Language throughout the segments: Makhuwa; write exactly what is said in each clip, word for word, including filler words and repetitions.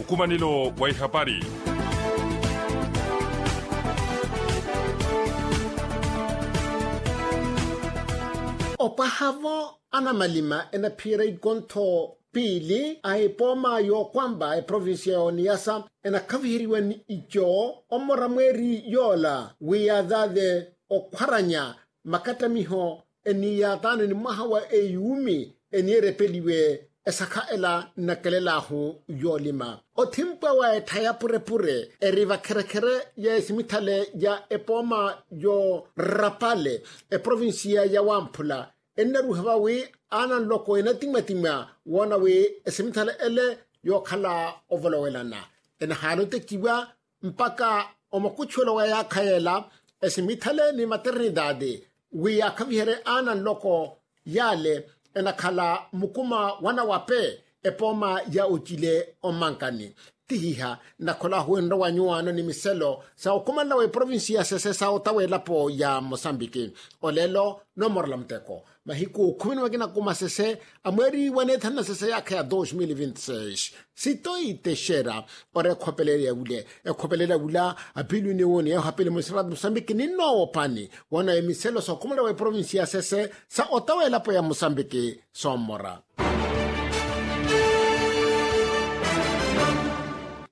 Nkumanelo wa ihapari. Opwahavo anamalima enaphiyerya ikontho piili a epooma y'okwamba eprovincia y'oniyasa enakhaviheriwa ni ico omora mweeri yoola wi yaathaathe okhwaranya makattamiho eniiyaataano ni mwaha wa eyuumi eniirepeliwe esakha ela nnakelel'ahu yoolima othimpwa wa ettha ya purepure eri vakherekhere ya esimithale ya epooma y'orapale eprovincia ya wamphula ennaruha vawi aana nloko enatimwatimwa woona wi esimithale ele yookhala ovolowelana enahaala otekiwa mpakha omakuchuwelo wa yaakha yeela esimithale ni maternidade wi yaakhaviherye aana nloko yaale enakhala mukuma wanawape epooma ya ocile ommankani tihiha nnakhola ahuwenrya wa nyuwaano ni miselo sa okhumanela wa eprovinsi ya sese sa ota w'elapo ya mosambiki olelo noomorela muteko mahiku khumi ni makina kumasese a mweeri wa neethanu na sese yaakha ya dos mil vinti seis sitoi texera ori ekhopelele ya wule ekhopelele ya wula apilwini woni yeeho apili munisipalati musambiki ninnoowopani woona emiselo sookhumela wa eprovinsi ya sese sa ota w'elapo ya musambiki soommora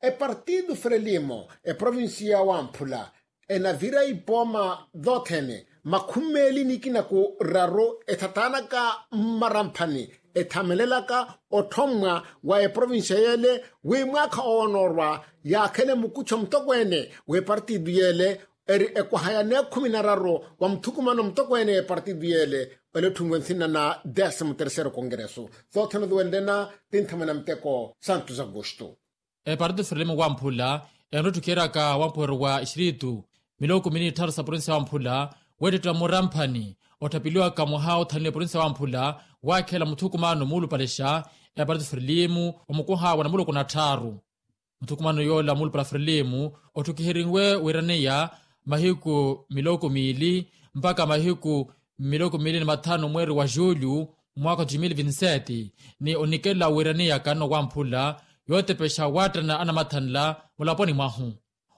epartido frelimo eprovinsi ya wamphula enavira ipooma thoothene makhumi meeli nikina ku raru ethataanaka mmaramphani ethamelelaka otthommwa wa eprovinsiya yeele wi mwaakha owonoorwa yaakhele mukuttho mutokweene w'epartitu yeele eri ekwaha ya neekhumi na raru wa muthukumano mutokweene w'epartitu yeele ole otthumiwe nsina na desimo terceiro kongereso thoothene othuwenle na tinthamwe na muteko santos augusto epartitu frelimo wamphula enrotthukeraka wampuheru wa exiritu miloko mini ni tthaaru sa provinsiya wamphula weettettela muramphani otthapeliwaka mwaha othanliwa provinsiya wamphula waakhela muthukumano muulupalexa epartitu frelimo omukuha wa namuloko na tthaaru muthukumano yoola muulupala frelimo otthukiheriwe wiiraneya mahiku miloko miili mpakha mahiku miloko miili ni mathanu mweeri wa julho mwaakha wa dos mil vinti sete ni onikela wiiraneya kanno wamphula yootepexa waattana anamathanla mulaponi mwahu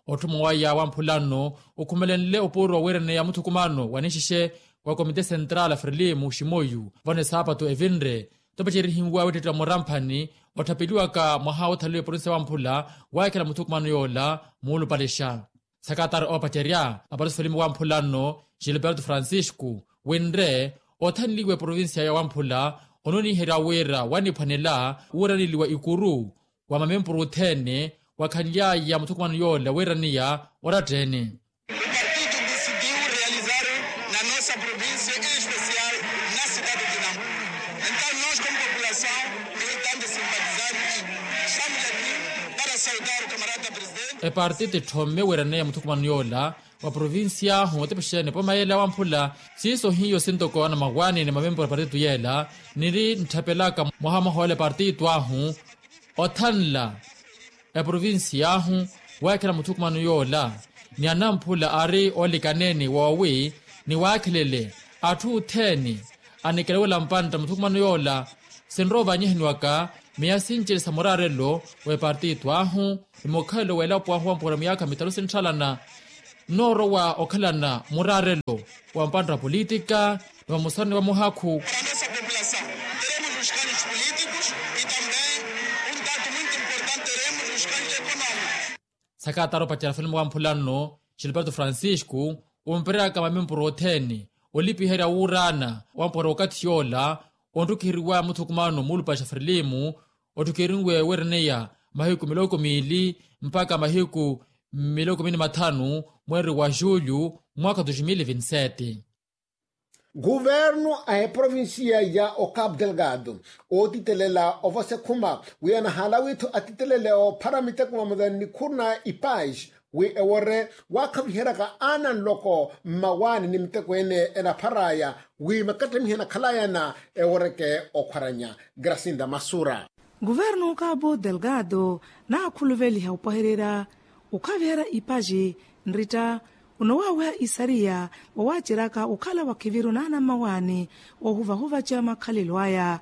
otthuma waya wamphula nno okhumelenle opuuro wa wiiraneya muthukumano wa ninxixe wa komite central frelimo ximoyu vano esaapatu evinre topacerihiwa weettettela muramphani otthapeliwaka mwaha woothaliwa eprovinsiya wamphula waakhela muthukumano yoola muulupalexa sakatari oopacerya apartitu frelimo wamphula nno gilberto francisco winre othanliwa eprovinsiya ya wamphula ononiherya wira waniphwanela wuuraneliwa ikuru wa mamempuru othene wakhanly'aya muthukumano yoola wiiraneya oratteene o partido decidiu realizar na nossa província em especial na cidade de nampula. Então nós como população militante simpatizante estamos aqui para saudar o camarada presidente. Epartitu etthome wiiraneya muthukumano yoola wa provincia ahu otepexeya ni epooma yeela wamphula siiso hiyo sintoko anamawaani ni mamempuru a partitu yeela niri ntthapelaka mwaha mwaha ola epartitu ahu othanla eprovincia ahu waakhela muthukumano yoola ni anamphula ari oolikaneeni woowi ni waakhelele atthu othene anikelewela mpantta muthukumano yoola sinrowa ovanyihaniwaka miya sinci ni sa muraarelo w'epartitu ahu ni mukhalelo w'elapo ahu wampuwela miyaakha mitalu sintthalana nnoorowa okhalana muraarelo wa mpantta wa politika ni wa musarani wa muhakhu sakatara opacela felimo wamphula nno gilberto francisco ompereraka mamempuru othene olipiherya wuuraana wampuwela okathi yoola ontthukiheriwa muthukumano muulupale xa frelimo otthukiheriwe weeraneya mahiku miloko miili mpakha mahiku miloko miili ni mathanu mweeri wa julho mwaakha dos mil vinti sete guvernu a eprovincia ya ocapo delgado ootitelela ovosa ekhuma wi anahaala wiittho atitelele oophara miteko vamosa ni nikhuru na ipais wi ewore waakhaviheryaka aana nloko mmawaani ni miteko ene enaphar'aya wi makattamiha enakhalayana eworeke okhwaranya grasinda masura guvernu ocapo delgado naakhuluveliha opwahererya okhaviherya ipaci nritta onowaaweha isariya wawaaceryaka okhala wakhiviru naana mmawaani oohuvahuvaca makhalelo aya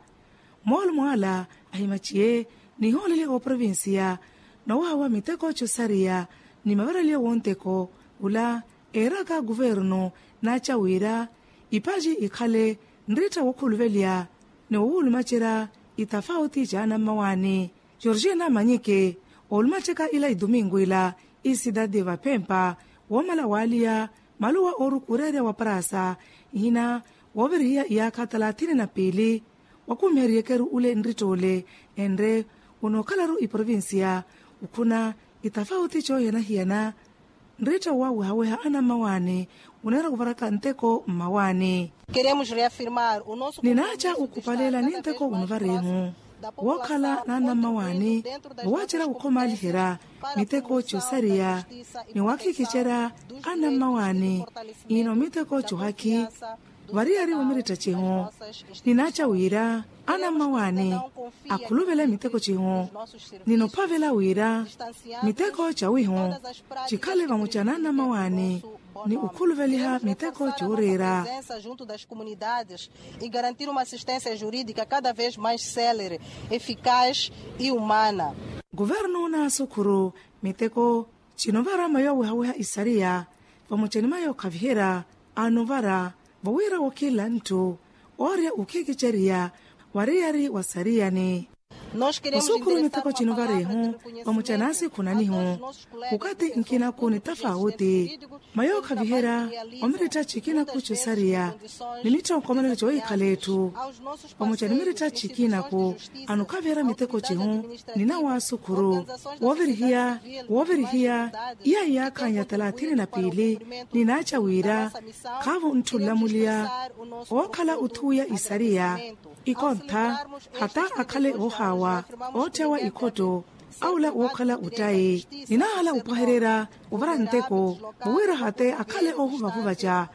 moolo mwaala ahimaciye nihoolele ooprovincia Nowahawa miteko cosariya ni mavaraliyo wonteko ula eeraka kuvernu naaca wira ipaji ikhale nritta wookhuluveliya ni wowulumacerya itafauti caana mmawaani. Georgina manyike oolumacerya ila ituminku ila isidadi vaphempa woomala waaliya maluwa oorukureerya wa prasa ihina woovirihiya iyaakha talathini na piili wakumiheryekeru ule nrittoole enre onookhalaru iprovincia ukhuna itafauti coohiyana-hiyana. Nrittowa wehaweha anammawaani oneera kuvaraka nteko mmawaani. Ninaaca okhupalela ni nteko onuvarihu wookhala n'anammawaani woowacerya wukhomaaliherya miteko cosariya ni waakhikicerya anammawaani ino miteko cohakhi variyari wa miritta cihu. Ninaaca wira anammawaani akhuluvele miteko cihu ninophavela wira miteko cawihu cikhale vamuca n'anammawaani ni okhuluveliha miteko cooreera. Comunidades e garantir uma assistência jurídica cada vez mais célere, eficaz e humana. Kuvernu naasukhuru miteko cinovara mayo wehaweha isariya vamuca ni mayo khaviherya anovara vowira wokhila nthu oorya okhikiceriya wariyari wa sariyani. Osukhuru miteko cinovarihu vamuca naasikhunanihu wukati nkinaku ni tafauti mayo khaviherya omiritta cikinaku cosariya ni mitthonkomelelo coohikhala etthu vamuca ni miritta cikinaku anokhaviherya miteko cihu. Ninawaasukhuru woovirihiya woovirihiya iya iyaakhannya talathini na piili ninaaca wira khaavo ntthu nlamuliya ookhala othuwiya isariya ikontha hata akhale oohaawa ootthewa ikhotto awula wookhala ottayi. Ninaahala opwahererya ovara nteko vowira hate akhale oohuvahuvaca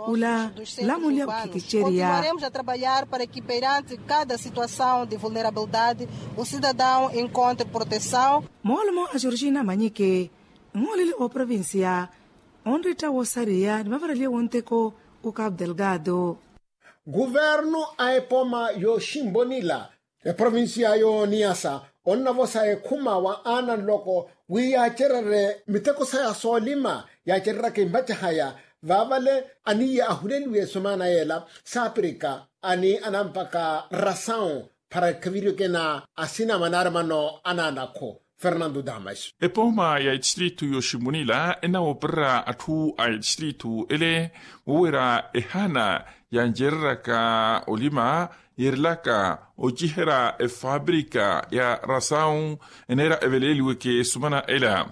ula nlamuliya okhikiceriya. Continuaremos a trabalhar para que perante cada situação de vulnerabilidade o cidadão encontre proteção. Moolumo a georgina manyike nhooleli ooprovincia onritta woosariya ni mavaraliye wonteko o capu delgado. Kuvernu a epoma yooximbonila eprovincia yooniyasa onnavosa ekhuma wa aana nloko wi yaacererye miteko saya soolima yaacereraka imbacahaya vaavale aniiya ahuleliwe esomana yeela saapirika ani anampaka rasawu para ekhaviryo kena asina manaari mano anaanakhu. Fernando damas. Epooma ya etistritu yoximunila enawoopererya atthu a etistritu ele wowira ehaana yancereryaka olima yeerilaka ociherya efaaprika ya rasawu eneera eveleeliweke esumana ela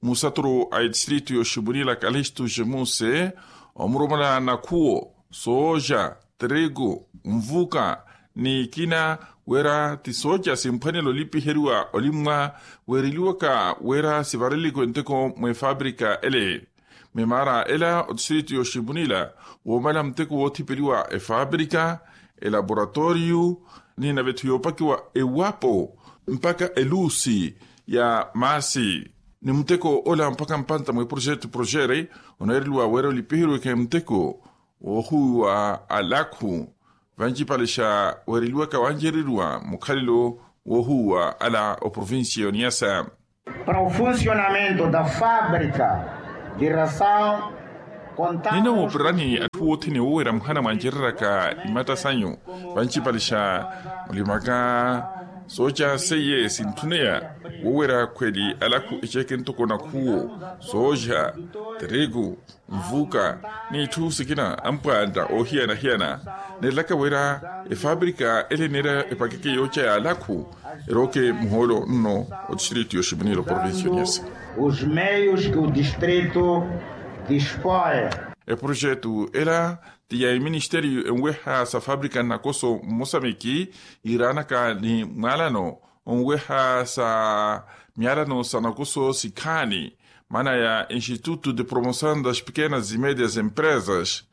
musaturu a etistritu yoximunila kalistu jemuse omuromola nakhuwo sooja triku nvuka ni ikina wira ti sooja simphwanela olipiheriwa olimmwa weereliwaka wira sivarelelikiwe nteko mwefaprika ele. Memaara ela otistritu yoximunila woomala muteko woothipeliwa efaprika elaboratoriyu ni nave-tho yoopakiwa ewapo mpaka eluusi ya maasi ni muteko ola mpaka mpanta mweprojetu projere oneereliwa wira olipiheriweke muteko woohuwiwa alakhu vancipale xa weereliwaka wancereriwa mukhalelo woohuwa ala oprovincia yoniyasa. Para o funcionamento da fábrica de ração nina wooperani atthu wothene wowera muhana mwancereraka imatta sanyu vancipale xa mulimaka sooca seiye sintthuneya wowera khweli alakhu eceeke ntoko nakhuwo sooca teriku nvuka n'itthu sikina ampwanta oohiyana-hiyana neerelaka wira efaprika ele neera epakeke yooca ya alakhu erooke muhoolo nno otistrito yoximunila oprovincia oniyasa. Os meios que o distrito dispõe. Eprojetu ela ti ya eministeriyo enweha sa faprika nnakoso mmosamiki yiiraanaka ni mwaalano onweha sa myalano sa nakuso sikhaani maana ya instituto de promoção das pequenas e médias empresas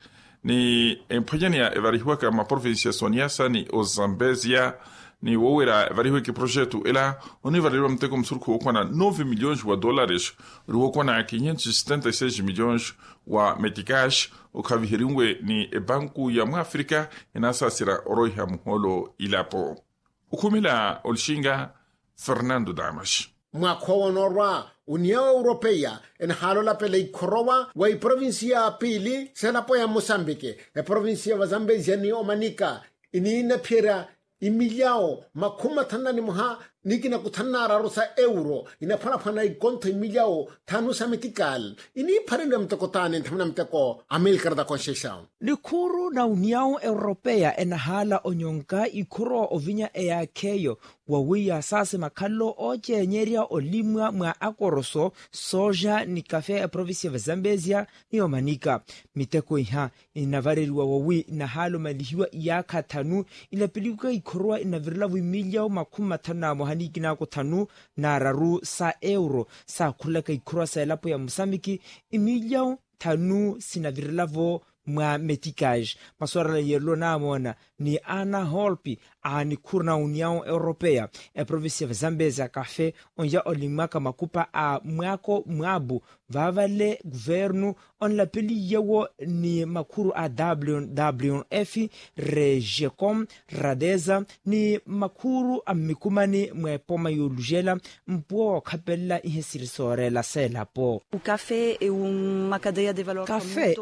ni emphwanyaneya evarihiwaka mmaprovincia soniyasa ni ozambezia ni wowera evarihiweke projeto ela onivareliwa muteko musurukhu wookwana nove milhões wa dólares ori wookwana quinhentos e setenta e seis milhões wa meticas okhaviheriwe ni ebanku ya mwafrika enaasasira oroiha muhoolo ilapo. Okhumela olixinga fernando damas. Mwaakha owo onoorwa, uniyawo europeya enahaala olapela ikhorowa wa iprovinsiya ya piili s'elapo ya musambiki, eprovinsiya ya vazambezia ni omanika, iniinaphiyerya imilyawo makhumi mathanu na nimoha ni kinaku thanu na araru sa euro, inaphwanaphwana ikontho imilyawo thanu sa metikali. Iniiphareliwa miteko taani nthamuna miteko amilkarata konxexawo. Nikhuru na uniyawo europeya enahaala onyonka ikhorowa ovinya eyaakheyo, wawiya saasi makhalelo oocenyerya olimwa mwa akoroso, sooja ni kafe ya eprovinsi ya vazambezia ni omanika. Miteko iha inavareriwa wawi inahaala omalihiwa iyaakha thanu. Ilapeliwaka ikhorowa inavirelavo imilyawo makhumi mathanu na moha ni kinaku thanu na araru sa euro, saakhurelaka ikhorowa sa elapo ya musambiki imilyawo thanu sinavirelavo mwa metikage. Maswarala yeerelo naamoona ni ana holpi a nikhuru na uniyawo europeya, eprovinsi ya vazambezia kafe onya olimwaka makupa a mwaako mwaabu. Vaavale kuvernu onlapeliyewo ni makhuru a wwf, regecom, radeza ni makhuru a mmikumani mwa epoma yoolujela. Mpuwo wookhapelela ihe siri sooreela seelapo. Kafe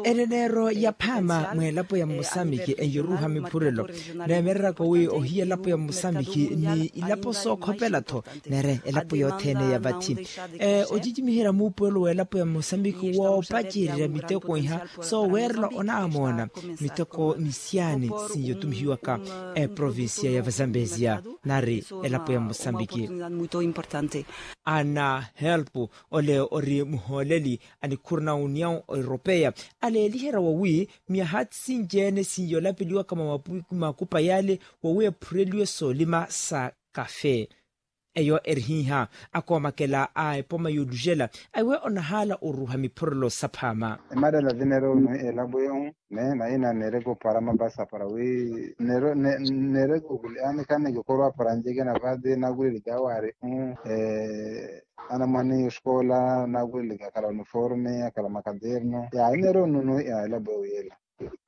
eneneero ya phaama mwa elapo ya musambiki enyoruuha miphurelo. Neemereraka wi ohiya elapo ya musambiki ni ilapo sookhopela-tho, nere elapo yothene ya vathi. Ocicimiherya muupuwelo w'elapo ya musambiki woopacererya miteko iha sooweerela onaamoona miteko ni siyaani sinyotumihiwaka eprovinsiya ya vazambezia nari elapo ya musambiki. Ana helpu ole ori muhooleli a nikhuru na uniyawo europeya aleeliherya wawi myaha sinci-ene sinyoolapeliwaka mwa makupa yale wawi ephureliwe soolima sa kafe. Eyo eri hiiha akoomakela a epoma yoolujela aiwe onahaala oruuha miphurelo saphaama. Emarela vinerono elapo ehu ne naina nereke opara mapasa para wi nereke okuli anikhaneke okhorwa para njeke na vati nakulelika awaari hu. Anamwani oskola nakulelika akhala uniforme akhala makaderno ya inerono no ya elapo ehu yela.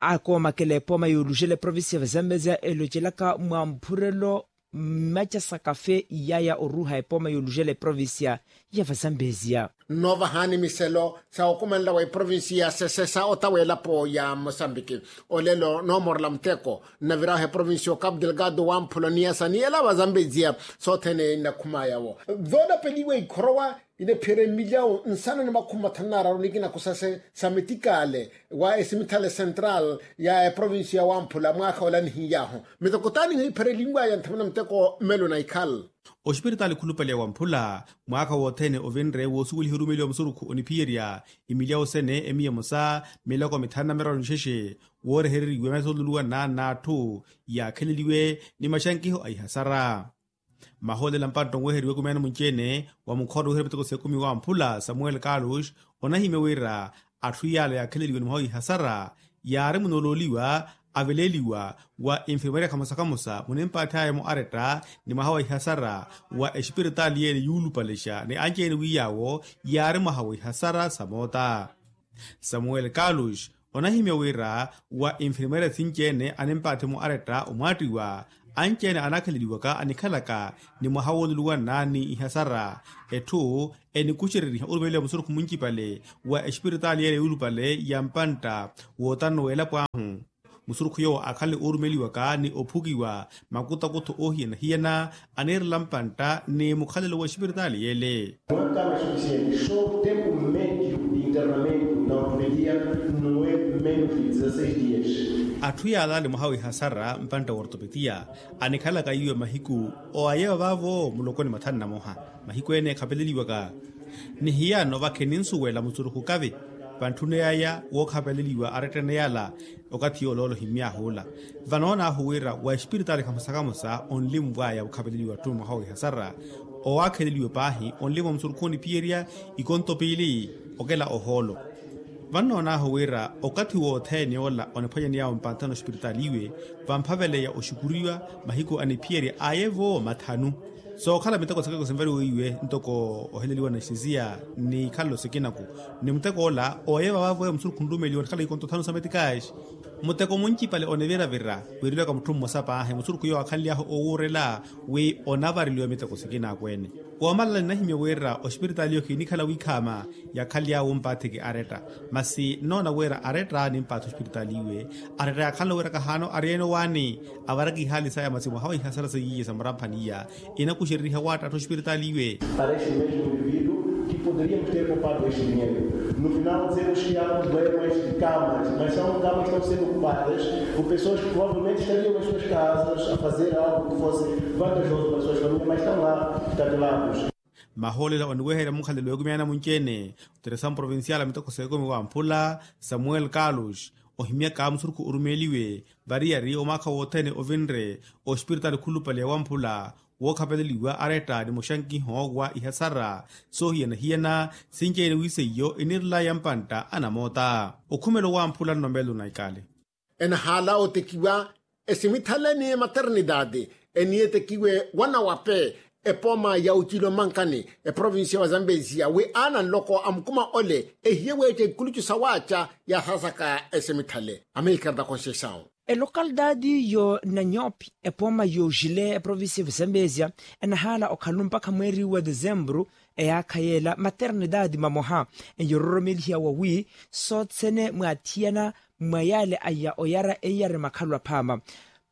Akoomakela epoma yoolujela eprovinsi ya vazambezia elocelaka mwa mphurelo mmaca sa kafe iyaya oruuha epoma yoolujela eprovinsiya ya vazambezia. Nnoovahani miselo sa okumanela wa eprovinsiya ya sesesa ota w'elapo ya mosambiki. Olelo noomorela muteko nnaviraho eprovinsiya okapu delgado wamphula oniyasa ni ela vazambezia sothene nnakhumaya-wo. Voolapeliwa ikhorowa inaphiyerya mmilyawo nsanu ni makhumi mathanu n'araru nikina kusase sa mitikaale wa esimithale central ya eprovinsiya wamphula mwaakha ola nihiyahu. Miteko taani hiipherelinwaya nthamuna miteko mmelo na ikhal. Oxipiritaali khulupale wamphula mwaakha wothene ovinre woosuweliha orumeliwa musurukhu oniphiyerya imilyawo sene emiya emosa miloko mithanu na miraru nixexe woorehereriwa masoluluwa na n'atthu yaakheleliwe ni maxankiho a ihasara. Mahoolela mpantta onweheriwa ekumi ene munci-ene wa mukhoro wiherya miteko s'ekumi wamphula samuel carlos onahimya wira atthu yaala yaakheleliwe ni mwaha wa ihasara yaari munoolooliwa aveleeliwa wa infirmeria khamosa khamosa munimpaathi aya-mo aretta ni mwaha wa ihasara wa exipiritaali yeene yuulupalexa ni anci-ene wi yaawo yaari mwaha wa ihasara sa moota. Samuel carlos onahimya wira wa infirmeria sinci-ene animpaathi-mo aretta omwaattiwa anci-ene anaakheleliwaka anikhalaka ni mwaha wooluluwanna ni ihasara etthu enikuxereriha orumeliwa musurukhu muncipale wa exipiritaali yeene yuulupale ya mpantta wootanno w'elapo ahu. Musurukhu yoowo akhale oorumeliwaka ni ophukiwa makutakutho oohiyana-hiyana aniirela mpantta ni mukhalelo wa exipiritaali yeele. Mwaka na suficiente sho tempu mmedio internamento na ortopedia no e menos de dezasseis dias. Atthu yaalaale mwaha wa ihasara mpantta wa ortopedia anikhalaka iwe mahiku owayewa vaavo muloko ni mathanu na moha. Mahiku ene ekhapeleliwaka ni hiyano vakhe ninsuwela musurukhu kavi vantthuna yaya wookhapeleliwa arettene yala. Okathi yooloolo himmyaahuula vanoonaahu wira wa espiritaali khamosa khamosa onlimwaya okhapeleliwa atthu mwaha wa ihasara owaakheleliwe paahi onlimwa musurukhu oniphiyerya ikonto piili okela ohoolo. Vannoonaahu wira okathi wothene ola oniphwanyaniy'awe mpanthano ospiritaali iwe vamphaveleya oxukuriwa mahiku aniphiyerya aye-vo mathanu. Sookhala miteko sikeko sinvariwe iwe ntoko oheleliwa na exisiya ni ikhalelo sikinaku ni muteko ola oye vavavo musurukhu nrumeliwa onikhala ikonto thanu sa metikaxi. Muteko muncipale onivira-vira wiirilwaka mutthu mmosa paahi musurukhu yoowo akhanly'ahu owuurela wi onavareliwa miteko sikinaku ene. Woomalala ninahimya wira ospiritaali iyo khinikhala wiikhaama. Yaakhaly'awe ompaatheke aretta. Masi nnoona wira aretta nimpaathi ospiritaali iwe. Aretta yaakhalano wira kahaano ariyene owaani. Avaraka ihaali saya masi mwaha wa ihasara seiye sa muramphani iya. Inakuxereriha waattattha ospiritaali iwe. Para este mesmo indivíduo que poderíamos ter poupado este dinheiro. No final dizemos que há problemas de camas, mas são camas que estão sendo ocupadas por pessoas que provavelmente estariam nas suas casas a fazer algo que fosse vantajoso para as suas famílias, mas estão lá tatulados. Mahoolela oniweherya mukhalelo w'ekumi ya namunci-ene otiresa mprovincial a miteko s'ekumi wamphula samuel carlos, ohimyaka musurukhu orumeeliwe variyari omaakha wothene ovinre ospiritaali khulupale ya wamphula, wookhapeleliwa aretta ni muxankiho wa ihasara soohiyana-hiyana. Sinci-ene wi seiyo inirelaya mpantta anamoota. Okhumelo wamphula nnomeelo na ikale. Enahaala otekiwa esimithale ni maternidade eniye etekiwe wanawape epooma ya ocilo mankani eprovincia wa zambezia wi aana nloko a mukuma ole ehiye weeca ikulucu sawaaca ya sasaka esimithale. Amerika da conceição. Elocalidade yo nanyopi epooma yo jile eprovincia ya zambezia enahaala okhalu mpakha mweeri wa desembru eyaakha yeela maternidade mamoha eyororomelihiya wawi sothene mwaathiyana mwa yaale aya oyara eiyari makhalu aphaama.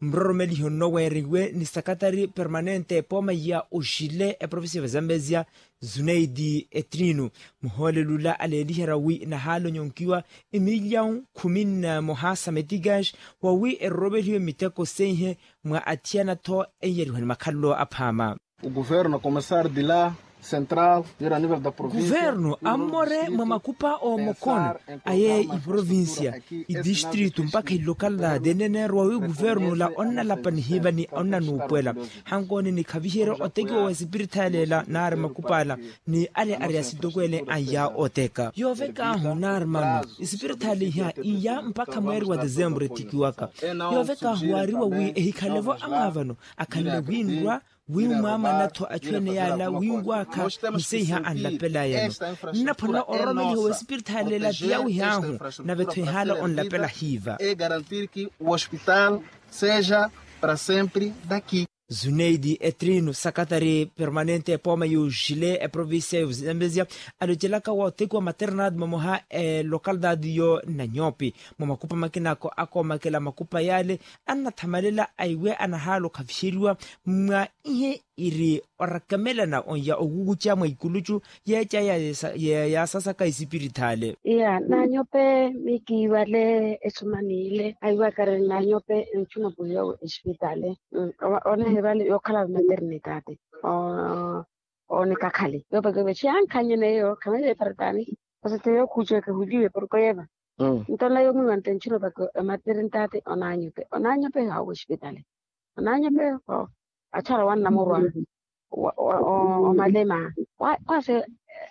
Mroromeliho nno weeriwe ni sakatari permanente epooma ya oxile eprovincia ya zambezia zuneidi etrino muhoolelula aleeliherya wi nahaala onyonkiwa emilyawu khumi na moha sa metigas wawi eroromelihiwe miteko seihe mwa athiyana-tho eiyariwa ni makhalulo aphaama. Guvernu ammore mwa makupa oomokono aye iprovincia idistritu mpakha ilokala deneneerwa wi guvernu la onnalapa nihiiva ni onnanuupwela. Hankooni nikhaviherye otekiwa wa esipirithali ela naari makupa ala ni ale ari asitokwele anya oteka yoovekaahu naari mano esipirithali iha iya mpakha mweeri wa desembru etekiwaka. Yoovekaahu waariwa wi ehikhale-vo amwaavano akhanle winrwa wi mwaamana-tho achu ene yaala winwaakha. Nseiha anlapela yano nnaphuna ororomeliho w'esipirithali ela ti yawihaahu nave-tho ehaala onlapela hiiva. Zuneidi etrino sakatari permanente epooma y'oxile eprovincia y'ozambezia alocelaka wa otekiwa maternidade momoha elocalidade yo nanyopi mwa makupa makinako akoomakela makupa yaale annathamalela aiwe anahaala okhavixeriwa mwa ihe iri orakemelana onya okukuca mwa ikulucu yeeca yaasasaka esipirithale. Iya nanyope mikiivale esumaniile aiwakari nanyope enchuno puhiya esipitale. Onehivale yookhala maternidade onikakhale yoopeke vexiyankhanyeneyo khamele eparitani. Osete yookhuca ekehuliwe porko yeeva nto nla yoomiwa nte nchino paka ematernidade onanyope onanyope haawo esipitale. Onanyope achara wannamurwa omalema kwase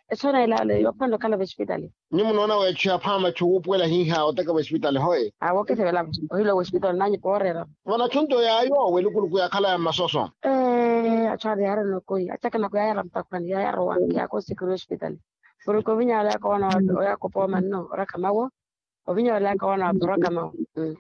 esona elaale yoophanle okhala vespitali. Nyu munoona weechu ya phaama echu wuupuwela hiiha oteka vespitali hoye. Awo okesevela ohila wespitali onanyope ooreera. Vana chunto yaayo welukuluku yaakhala ya mmasoso. Achara yaarina okoi achakana kuyayara mutakhwani yayara owanke yaakosikiri wespitali. Porke ovinya olaka owana oyakopa omanno orakha mawo. Ovinya olaka owana waphoraka mawo.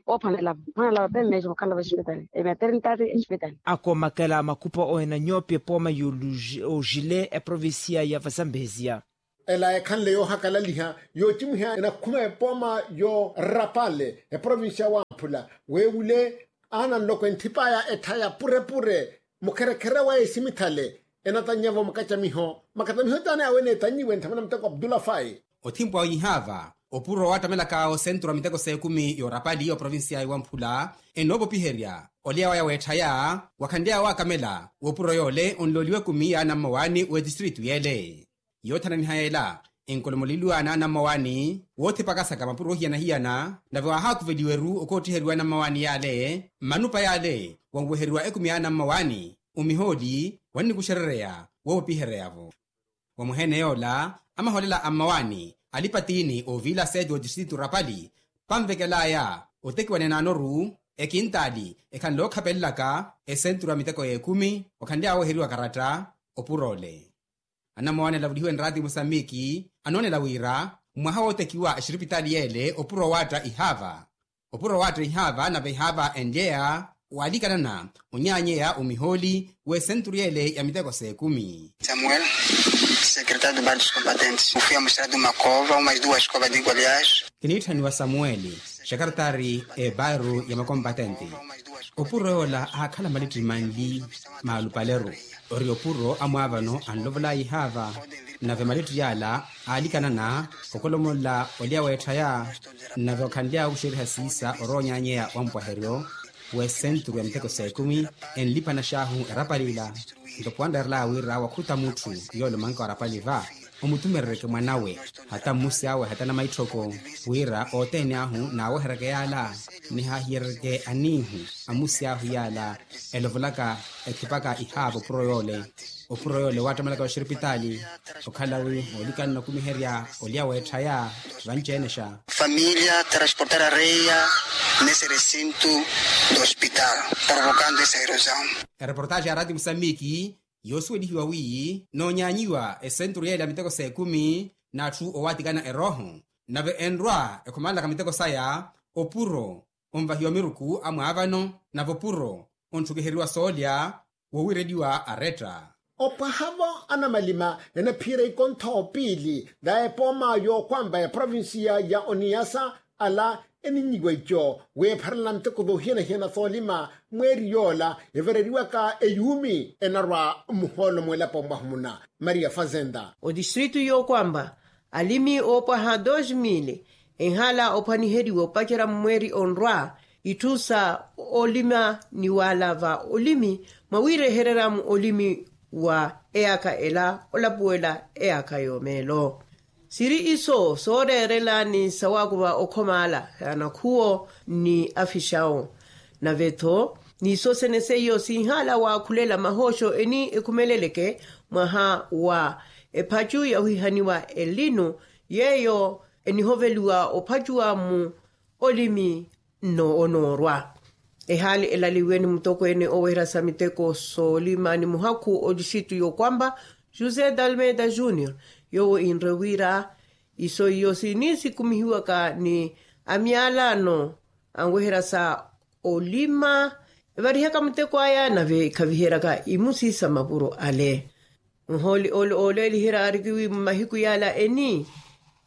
Oophanela vo mphwanela vape mmeexa mukhala vespitali ematernidade espitali. Akoomakela makupa owenanyopi epooma y'oxile eprovincia ya vazambezia. Ela ekhanle yoohakalaliha yoocimwiha enakhuma epooma yo rapale eprovincia wamphula weewule aana nloko enthipaya etthaya purepure mukherekhere wa esimithale. Enatannya-vo makacamiho makatamiho taani awe eneetannyiwe nthamana muteko abdullah fai. Othimpwa ihaava opuro waattamelaka osenturu a miteko s'ekumi yoorapali y'oprovincia iwamphula enoopopiherya olya waya weetthaya wakhanly'awe waakamela w'opuro yoole onlooliwa ekumi y'anammawaani w'etistritu yeele. Yoothananiha yeela enkolomoleliwa n'anammawaani woothipaka saka mapuro ohiyana-hiyana nave waahaakuveliwa-ru okoottiheriwa anammawaani yaale mmanupa yaale wanweheriwa ekumi y'anammawaani omihooli wannikuxerereya woopopiherya-vo. Wa muheene yoola amahoolela a mmawaani alipa tiini oviila seeti w'otistritu rapali panvekel'aya otekiwa n'enaano-ru ekintaali ekhanle ookhapelelaka esenturu a miteko y'ekumi okhanly'awe oheriwa karatta. Opuro ole anammawaani alavulihiwe nraati musambiki anoonela wira mwaha wootekiwa exiripitaali yeele opuro waatta ihaava. Opuro waatta ihaava nave ihaava enlyeya waalikanana onyaanyeya omihooli w'esenturu yeele ya miteko s'ekumi. Samuel, secretário de bardos combatentes, ofia musrado makova umas duas covas de golias. Kiniitthaniwa samueli, xekaretari ebaru ya makompatente. Opuro yoola aakhala malitti manli maalupaleru. Ori opuro amwaavano anlovolaya ihaava, nave malitti yaala aalikanana okolomolola olya weetthaya. Nave okhanly'awe okuxeriha siisa orowa onyaanyeya wa mpwaheryo w'esenturu ya miteko s'ekumi, enliphana xaahu erapali ila. Nto puwanreerelaya wira wakhuta mutthu yoole omanka warapali va, omutumerereke mwan'awe, hata mmusi awe hata namaitthoko, wira othene ahu naaweheryeke yaala, nihaahiyerereke aniihu a mmusi ahu yaala elovolaka, ekhipaka ihaava opuro yoole. Opuro yoole waattamalaka oxiripitaali, okhala wi moolikana nakumiherya olya weetthaya. Vanci-ene xa. Familia transportar areia nesse recinto do hospital, provocando essa erosão. Ereportaaxi ya raati musambiki yoosuwelihiwa wiiyi noonyaanyiwa esenturu yeele ya miteko s'ekumi, n'atthu owaatikana erooho, nave enrwa ekhumanlaka miteko saya, opuro onvahiwa miruku amwaavano, nave opuro ontthukuheriwa soolya woowireliwa aretta. Opwahavo anamalima enaphiira ikontho piili, va epooma yookwampa ya provincia ya oniyasa, ala eninnyiwa ico weepharana miteko voohiyana-hiyana soolima. Mweeri yoola evareriwaka eyuumi enarwa mmuhoolo mw'elapo mwahumuna. Maria fazenda. Odistritu yookwampa alimi oopwaha dos mili enhala ophwaniheriwa opacerya mmweeri onrwa, itthu sa olima ni wala va olimi mwawirehererya mu olimi wa eyaka ela olapuwela eyaka yoomeelo. Siri iso sooreerela ni sawaakuva okhomala anakhuwo ni afixawo. Nave-tho niso sene seiyo sinhala waakhulela mahooxo eni ekhumeleleke mwaha wa ephacu yawihaniwa elinu, yeeyo enihoveliwa ophacuwa mu olimi nno onoorwa. Ehaali elaliwe ni mutokweene oweherya sa miteko soolima ni muhakhu odistritu yookwampa josé dalmeda junior, yoowo inre wira iso iyo sini sikumihiwaka ni amyalano anweherya sa olima evarihaka muteko aya nave ekhaviheryaka imusi sa mapuro ale. Nhooli ole ooleeliherya aarikiwi mmahiku yala eni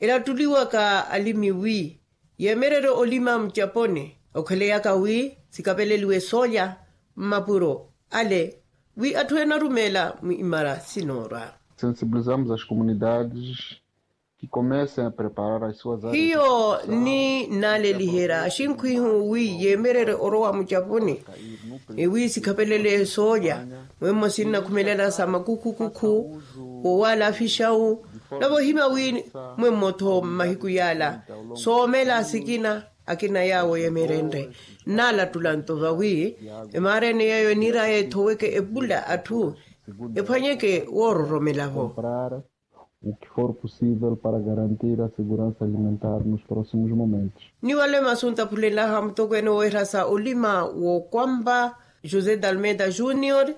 elattuliwaka alimi wi yeemererye olima mucaponi okheleyaka wi sikapeleliwe soolya mmapuro ale wi atthu enarumeela mu imara sinoorwa. Sensibilizamos as comunidades que comecem a preparar as suas áreas. Hiyo ni naaleliherya axinkhwihu wi yeemererye orowa mucapuni wi sikhapelele soolya. Mwemmo sinnakhumelela sa makukhukukhu wowala afixawu navo ohima wi mwemmo-tho mmahiku yala soomela sikina akina yaawo yemerenre. Nnaalattula nto vawi emaara ene yeeyo eniiraya ethoweke epula atthu ephwanyeke woororomelavo. O que for possível para garantir a segurança alimentar nos próximos momentos. Ni wale masu ntaphulenlaha mutokweene woowerya sa olima wookwampa josé dalmeda junior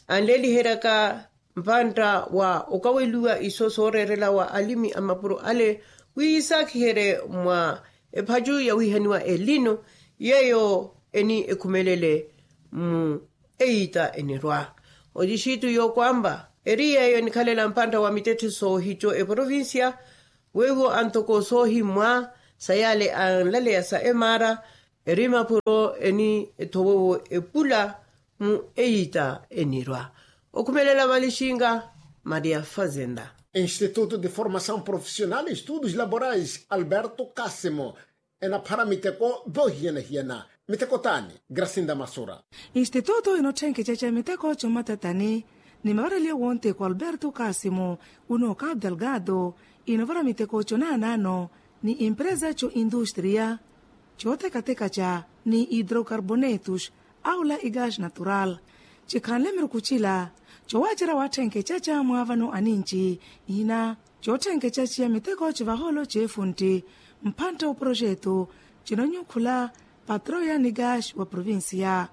anleeliheryaka mpantta wa okaweliwa iso sooreerela wa alimi a mapuro ale wi yisaakiherye mwa ephacu yawihaniwa elino yeeyo eni ekhumelele mu eyiita enirwa. Odistritu yookwampa eri yeeyo enikhalela mpantta wa mittetthe soohico eprovincia weiwo antoko soohimwa sa yale anlaleya sa emaara eri mapuro eni ethowowo epula mu eyiita enirwa. Okhumelela valixinga maria fazenda. Instituto de formação profissional e estudos laborais alberto casimo enaphara miteko voohiyana-hiyana. Miteko t'ani? Grasinda masura. Instituto inotthenkecaca miteko comatatani ni mavareliyo wonteko alberto casimo uno cabo delgado inovara miteko conaanano ni empresa co industria cotekatekaca ni hidrocarbonetos aula igas natural cikhanle miruku cila cowacera watthenkecaca mwaavano aninci ihina cotthenkecaciya miteko civahoolo ceefuntti mphantta oprojeto cinonyu khula patroya ni gas wa provincia.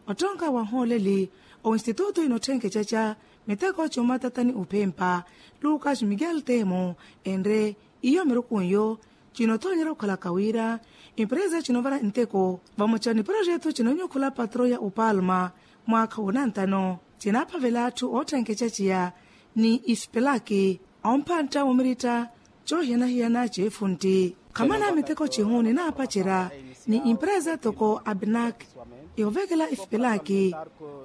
Ottonka wanhooleli oinstitutu inotthenkecaca miteko comatatani ophempa lucas miguel temo enre iyo mirukunyo Cinoothoonyerya okhalaka wira empresa cinovara nteko vamoca ni projeto cinonyokhula patro ya opalma mwaakha wonantano, cinaaphavela atthu ootthenketya ciya ni isipelaki omphantta womiritta coohiyana-hiyana ceefuntti. Khamana miteko cihu ninaapacerya ni empresa toko abinak yoovekela isipelaki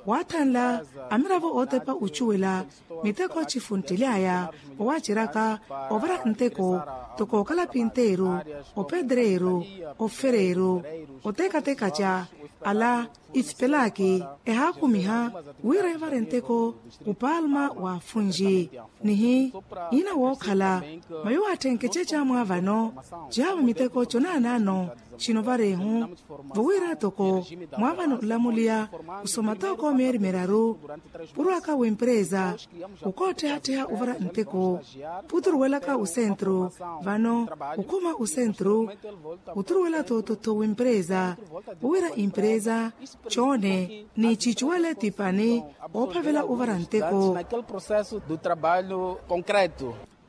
waathanla amiravo ootepa ocuwela miteko cifunttely'aya owaaceryaka ovara nteko toko okalapinteeru, opedreeru, ofereeru, otekatekaca ala isipelaki ehaakumiha wira evare nteko opalma wa afunji. Nihi ina wookhala mayo waatthenkeca caamwaavano cihaavo miteko conaanaano cinovareehu vowira toko mwaavano nlamuliya osoma tooko meeri miraru purwaka w'empresa okootthiha-tthiha ovara nteko puturuwelaka osentru vano okhuma osentru oturuwela toototho w'empresa owira empresa coone ni cicuwele tipani oophavela ovara nteko.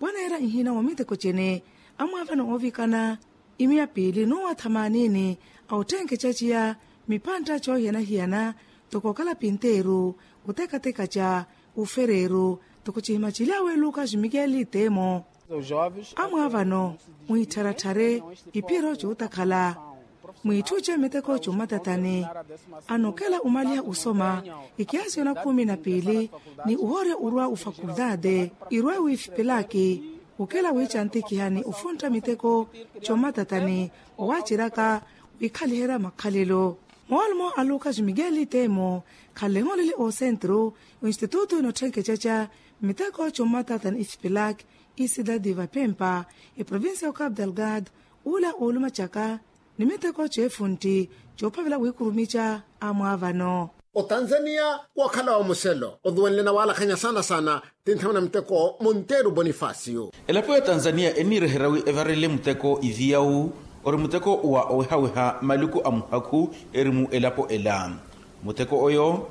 Pwaneera nhina wa miteko cene amwaavano oovikana imiya piili n'uwa thamanini a otthenkeca ciya miphantta coohiyana-hiyana toko okalapinteeru otekateka ca ofereeru toko cihima cilyawe lukas mikeli temo amwaavano mwiittharatthare iphiro cootakhala mwiitthuce miteko commatatani anokela omaliha osoma ikiasi yona khumi na piili ni ohoorya orwa ofakultaate irwe wiifipelaki okela wiicantikiha ni ofuntta miteko commatatani owaaceryaka wiikhaliherya makhalelo moolmo a lukas mikeli temo khanleho lili oosentru oinstitutu inotthenkeca ca miteko commatatani isipilak isidadi vapempa eprovincia ya ocap delgado ula oolumacaka ni miteko ceefuntti coophavela wiikurumica amwaavano. Otanzania wookhala wa muselo oduwenle na waalakhanya saana-saana ti nthamana miteko monteru bonifacio. Elapo ya tanzania eniireherya wi evarele muteko iviyawu ori muteko wa owehaweha maluku a muhakhu eri mu elapo ela. Muteko oyo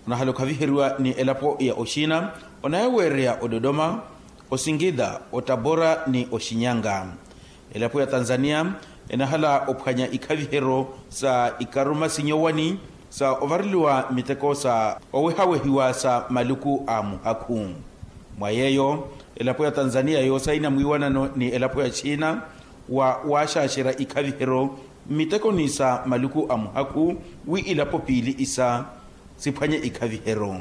onahala okhaviheriwa ni elapo ya oxina onayaweereya ododoma, osingida, otabora ni oxinyanga. Elapo ya tanzania enahala ophwanya ikhavihero sa ikaruma sinyowani sa ovareliwa miteko sa owehawehiwa sa maluku a muhakhu. Mwa yeeyo elapo ya tanzania yoosaina mwiiwanano ni elapo ya xina wa waaxaaxerya ikhavihero mmitekoni sa maluku a muhakhu wi ilapo piili isa siphwanye ikhavihero.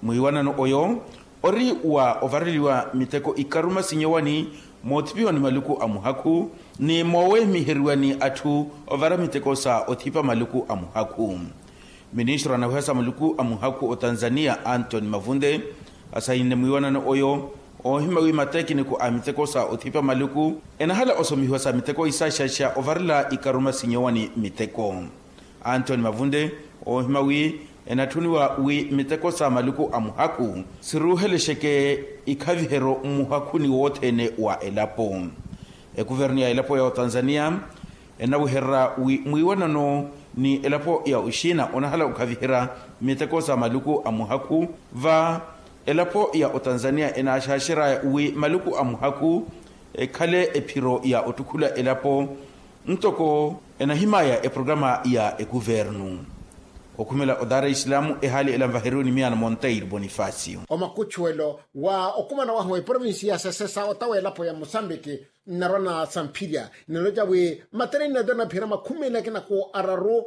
Mwiiwanano oyo ori wa ovareliwa miteko ikaruma sinyowani moothipiwa ni maluku a muhakhu ni moowehimiheriwa ni atthu ovara miteko sa othipa maluku a muhakhu. Ministro anaweha sa maluku a muhakhu otanzania antony mavunde asahinle mwiiwanano oyo oohima wi matekiniko a miteko sa othipa maluku enahala osomihiwa sa miteko isaxaxa ovarela ikaruma sinyowani miteko. Antony mavunde oohima wi enatthuniwa wi miteko sa maluku a muhakhu siruuhelexeke ikhavihero mmuhakhuni wothene wa elapo. Ekuvernu ya elapo ya otanzania enawehererya wi mwiiwanano ni elapo ya oxina onahala okhaviherya miteko sa maluku a muhakhu va elapo ya otanzania enaaxaaxeryaya wi maluku a muhakhu ekhale ephiro ya ottukhula elapo ntoko enahimaya eprograma ya ekuvernu. Okhumela o dar es salaam ehaali ela nvaheriwe ni miyaano monteiro bonifacio. Omakuchuwelo wa okumana wahu eprovinsi ya sesesa otawa elapo ya mosambiki nnarwa na samphirya ninaloca wi matereni nato naphira makhumi ene akina ku araru